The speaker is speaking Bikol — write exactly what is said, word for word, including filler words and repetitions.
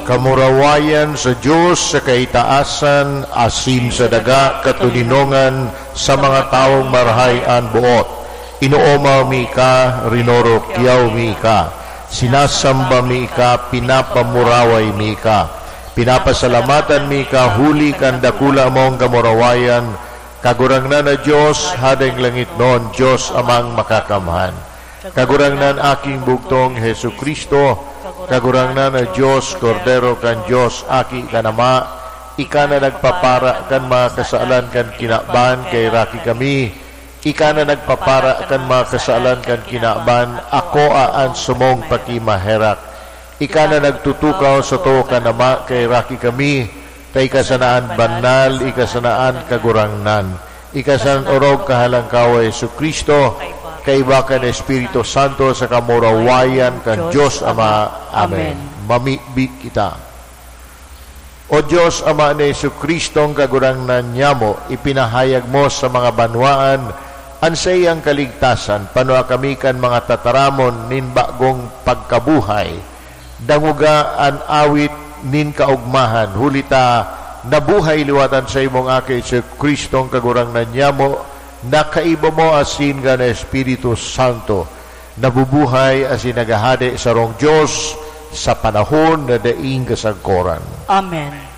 Kamurawayan sa Dios sa kaitaasan, asin sa daga katoninongan sa mga tawong marahay an boot. Inoomaw mi ka, rinorokyaw mi ka, sinasamba mi ka, pinapamuraway mi ka. Pinapasalamatan mi ka huli kan dakula mong kamurawayan, Kagurangnan na Dios, Hadeng langitnon, Dios Amang Makakamhan. Kagurangnan, Aking Bugtong Jesu-Cristo, Kagurangnan na Dios, Kordero kan Dios, Aki kan Ama, ika na nagpapara kan mga kasalan kan kinaban, kaheraki kami. Ika na nagpapara kan mga kasalan kan kinaban, akoa an sumong pakimaherak. Ika na nagtutukaw sa too kan Ama, kaheraki kami. Ta ika sana an banal, ika sana an Kagurangnan. Ika sana an orog kahalangkaw, Jesu-Cristo, kaiba kan Espiritu Santo, sa kamurawayan kan Dios Ama. Amen. Amen. Mamibi kita. O Dios, Ama ni Jesu-Cristong Kagurangnan nyamo, ipinahayag mo sa mga banwaan an saiyang kaligtasan. Panua kami kan mga tataramon nin bagong pagkabuhay. Dangoga an awit nin kaogmahan, huli ta nabuhay liwat an saimong Aki, Jesu-Cristong Kagurangnan nyamo, na kaiba mo asin kan Espiritu Santo, nabubuhay asin naghahade sarong Dios sa panahon na daing kasagkoran. Amen.